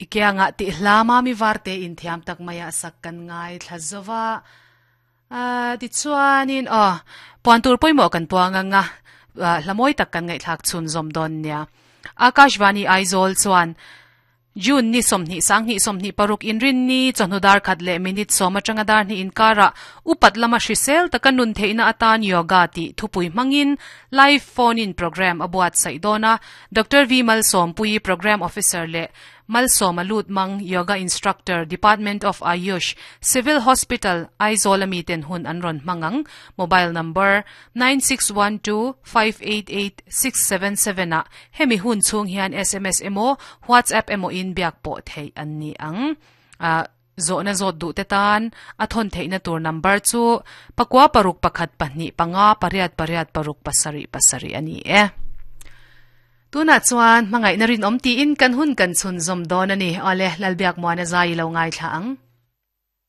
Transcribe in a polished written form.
I kiangah tih hla mami varte in thiam tak maia sak kan ngai thla zova. Tichuanin aw, puan tur pawimawh kan puang anga hla mawi tak kan ngaihthlak chhun zawm dawn nia. Akashvani Aizawl chuan June ni 20 sanghnih 26 inrinni chawhnu dar khat leh minute sawm atanga dar hnih inkarah upat lama hrisel taka nun theihna atan yoga tih thupui hmangin live phone in program a buatsaih dawn a. Doctor V Malsawmpuii Program Officer leh Malsawma Lutmang Yoga Instructor Department of Ayush Civil Hospital Aizawl a miten hun an rawn hmang ang. Mobile number, 9612588677 ah hemi hun chhung hian sms emaw WhatsApp emaw in biak pawh theih an ni ang. Zawhna zawt duh te tan a thawn theihna tur number chu pakua paruk pakhat pahnih panga pariat pariat paruk pasarih pasarih a ni e. Tunah chuan hmangaihna rinawm tiin kan hun kan chhunzawm dawn a ni. Awle, Lalbiakmuana zai i lo ngaithla ang.